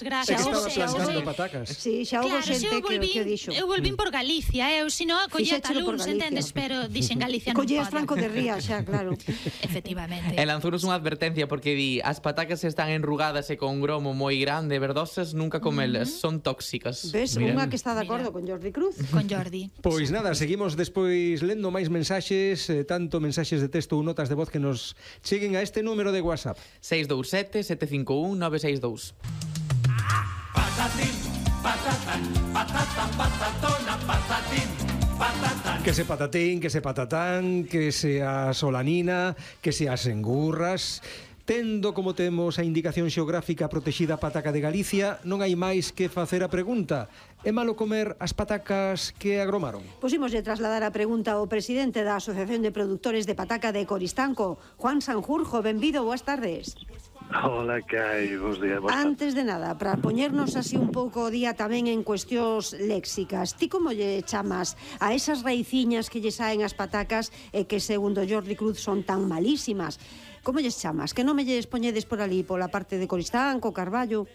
Gracias. Estaba plantando patacas. Sí, xa houve xente que o dixo. Eu volvín por Galicia, eu sino collía talúns, entendes, pero dixen Galicia non Collías pode. Franco de Ría, xa, claro. Efectivamente. E lanzounos unha advertencia porque di as patacas están enrugadas e con gromo moi grande, verdosas, nunca comelas, son tóxicas. Ves, Mira. unha que está de acordo con Jordi Cruz. Con Jordi. Pois nada, seguimos despois lendo máis mensaxes, tanto mensaxes de texto ou notas de voz que nos cheguen a este número de WhatsApp. 627 751 962. Patatín, patatán, patatán, patatona, patatín, patatán. Que se patatín, que se patatán, que se a solanina, que se as engurras. Tendo como temos a indicación xeográfica protexida pataca de Galicia, non hai máis que facer a pregunta. É malo comer as patacas que agromaron? Pusimoslle trasladar a pregunta ao presidente da Asociación de Produtores de Pataca de Coristanco, Juan Sanjurjo. Benvido, boas tardes. Hola, que hai? Bos días. Antes de nada, para poñernos así un pouco o día tamén en cuestións léxicas, ti como lle chamas a esas raiciñas que lle saen as patacas e que, segundo Jordi Cruz, son tan malísimas? Como lles chamas? Que non me lles poñedes por ali, pola parte de Coristanco, Carballo?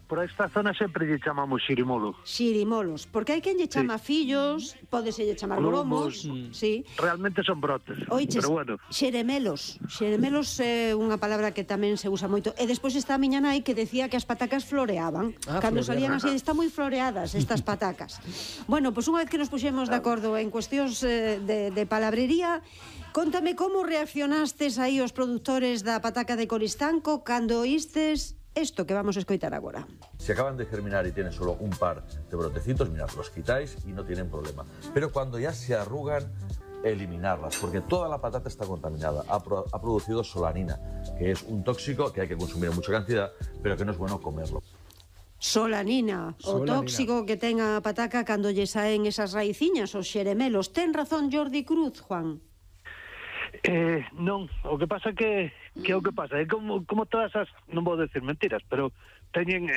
Por esta zona sempre lle chamamos xirimolo. Xirimolos, porque hai quen lle chama fillos, pódese lle chamar gromos, sí. Realmente son brotes, Oiches, pero bueno. xeremelos. Xeremelos é unha palabra que tamén se usa moito. E despois está a miña nai que decía que as patacas floreaban. Cando salían así, están moi floreadas estas patacas. Bueno, pois unha vez que nos puxemos de acordo en cuestións de palabrería, contame como reaccionastes aí os produtores da pataca de Coristanco cando oístes esto que vamos a escoitar agora. Si acaban de germinar y tienen solo un par de brotecitos, mirad, los quitáis y no tienen problema. Pero cuando ya se arrugan, eliminarlas, porque toda la patata está contaminada. Ha producido solanina, que es un tóxico que hay que consumir en mucha cantidad, pero que no es bueno comerlo. Solanina, o tóxico que ten a pataca cando lle saen esas raiciñas, os xeremelos. Ten razón Jordi Cruz, Juan? Non, o que pasa que é o que pasa, é como todas as, non vou decir mentiras, pero teñen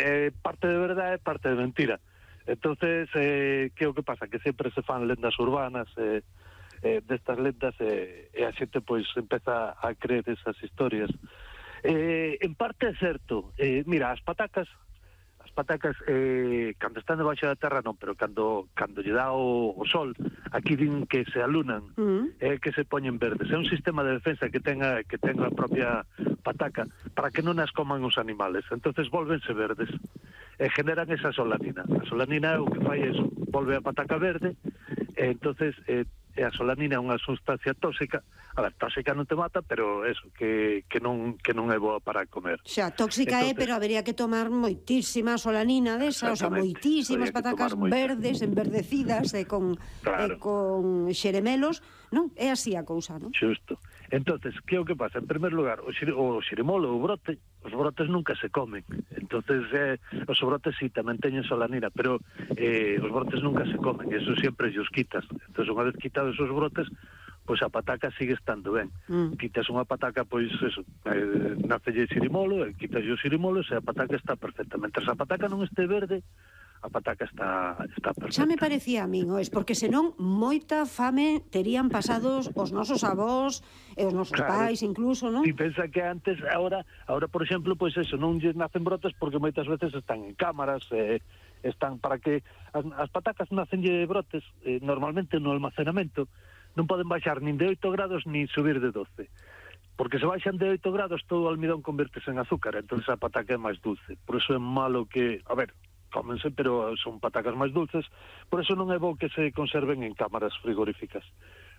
parte de verdade e parte de mentira. Entonces, que é o que pasa? Que sempre se fan lendas urbanas, destas lendas, e a xente pois empeza a creer esas historias. En parte é certo, mira, as patacas, cando están debaixo da terra non, pero cando lle dá o sol, aquí din que se alunan, que se poñen verdes. É un sistema de defensa que ten a propia pataca para que non as coman os animales. Entonces volvense verdes e generan esa solanina. A solanina o que fai é volve a pataca verde, e entonces a solanina é unha sustancia tóxica. A ver, tóxica non te mata, pero eso, que non é boa para comer. Xa, tóxica entonces, pero habería que tomar moitísima solanina desa, o sea, moitísimas patacas verdes, enverdecidas e con xeremelos, non? É así a cousa, non? Xusto. Entonces, que é o que pasa? En primer lugar, o xirimolo, o brote, os brotes nunca se comen. Entonces, os brotes sí tamén teñen solanina, pero os brotes nunca se comen, eso sempre os quitas. Entonces, unha vez quitados os brotes, pois a pataca sigue estando ben. Quitas unha pataca, pois eso, nacelle xirimolo, quitas o xirimolo, e a pataca está perfectamente. Se a pataca non este verde, a pataca está perfecta. Xa me parecía a min, ois, porque senón moita fame terían pasados os nosos avós e os nosos pais incluso, non? E pensa que antes, ahora por exemplo, pois eso, non lles nacen brotes porque moitas veces están en cámaras, están para que as patacas nacenlle brotes normalmente no almacenamento, non poden baixar nin de 8 grados nin subir de 12. Porque se baixan de 8 grados todo o almidón convertese en azúcar, entonces a pataca é máis dulce. Por eso é malo que, a ver, cómense, pero son patacas máis dulces, por eso non é bo que se conserven en cámaras frigoríficas,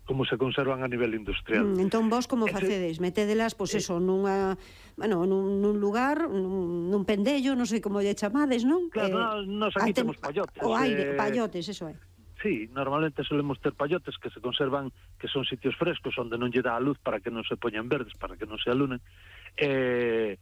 como se conservan a nivel industrial. Entón vos como facedes? Metédelas, pois eso, nun lugar, nun pendello, non sei como lle chamades, non? Claro, nos aquí temos pallotes. O aire, pallotes, eso é. Sí, normalmente solemos ter pallotes que se conservan, que son sitios frescos onde non lle dá a luz para que non se poñan verdes, para que non se alunen, e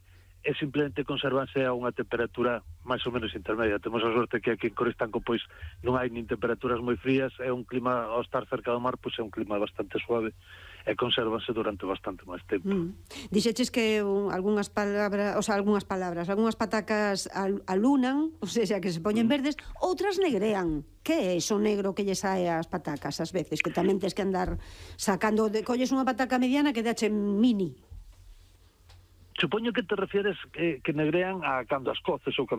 simplemente conservanse a unha temperatura máis ou menos intermedia. Temos a sorte que aquí en Coristanco pois non hai nin temperaturas moi frías, é un clima, ao estar cerca do mar, pois é un clima bastante suave e consérvanse durante bastante máis tempo. Dixeches que algunhas patacas alunan, ou seja, que se poñen verdes, outras negrean. Que é iso negro que lle sae ás patacas ás veces, que tamén tes que andar sacando, colles unha pataca mediana que dache mini? Supoño que te refieres que negrean a cando as coces ou cando